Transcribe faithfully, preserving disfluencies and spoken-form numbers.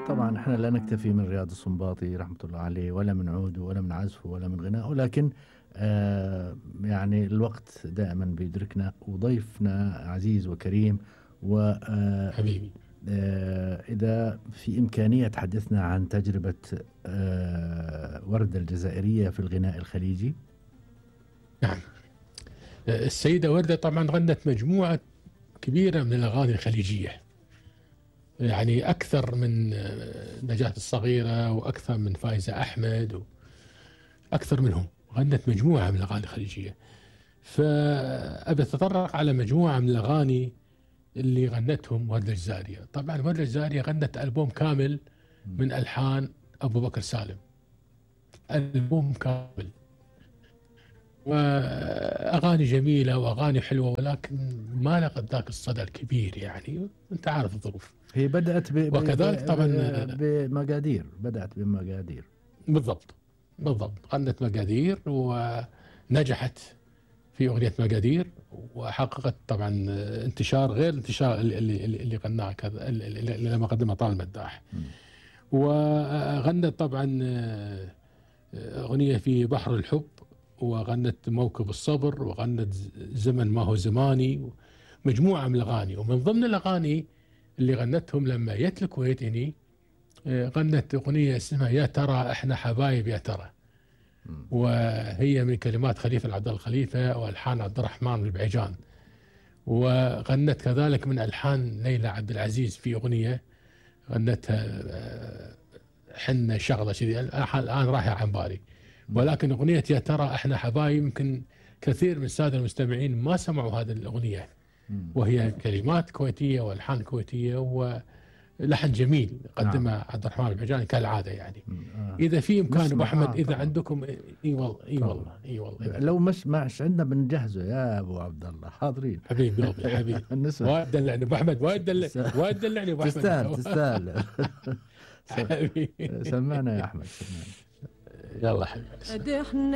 طبعا احنا لا نكتفي من رياض السنباطي رحمة الله عليه ولا من عوده ولا من عزفه ولا من غنائه، لكن آه يعني الوقت دائما بيدركنا، وضيفنا عزيز وكريم، وإذا حبيبي إذا في إمكانية تحدثنا عن تجربة آه وردة الجزائرية في الغناء الخليجي. نعم. السيدة وردة طبعا غنت مجموعة كبيرة من الأغاني الخليجية، يعني أكثر من نجاة الصغيرة وأكثر من فايزة أحمد وأكثر منهم، غنت مجموعة من الأغاني الخليجية. فأبي أتطرق على مجموعة من الأغاني اللي غنتهم وردة الجزائرية. طبعا وردة الجزائرية غنت ألبوم كامل من ألحان أبو بكر سالم، ألبوم كامل، وأغاني جميلة وأغاني حلوة، ولكن ما لقت ذاك الصدى الكبير، يعني أنت عارف الظروف. هي بدأت ب... وكذلك طبعا بمقادير، بدأت بمقادير. بالضبط بالضبط، غنت مقادير ونجحت في أغنية مقادير، وحققت طبعا انتشار غير الانتشار اللي اللي, اللي غناه كذا اللي لما قدمها طال المداح. وغنت طبعا أغنية في بحر الحب، وغنت موكب الصبر، وغنت زمن ما هو زماني، مجموعة من الأغاني. ومن ضمن الأغاني اللي غنتهم لما جت الكويت هني، غنت أغنية اسمها يا ترى احنا حبايب يا ترى، وهي من كلمات خليفة العبد الخليفة والحان عبد الرحمن البعيجان. وغنت كذلك من ألحان ليلى عبد العزيز في أغنية غنتها حنة شغلة شذي، الآن رايحة عن بالي. ولكن أغنية يا ترى احنا حبايب يمكن كثير من السادة المستمعين ما سمعوا هذه الأغنية، وهي كلمات كويتية والحان كويتية ولحن جميل قدمها عبد الرحمن البعيجاني كالعادة. يعني إذا في إمكان أبو أحمد، إذا عندكم إي والله إي والله إي والله لو مش ماش عندنا بنجهزه يا أبو عبد الله، حاضرين. حبيبي قلبي حبيبي وايد دلعني أبو أحمد، وايد دلعني وايد دلعني أبو أحمد. تستاهل تستاهل. سمعنا يا أحمد، سمعنا. يلا حبيبي.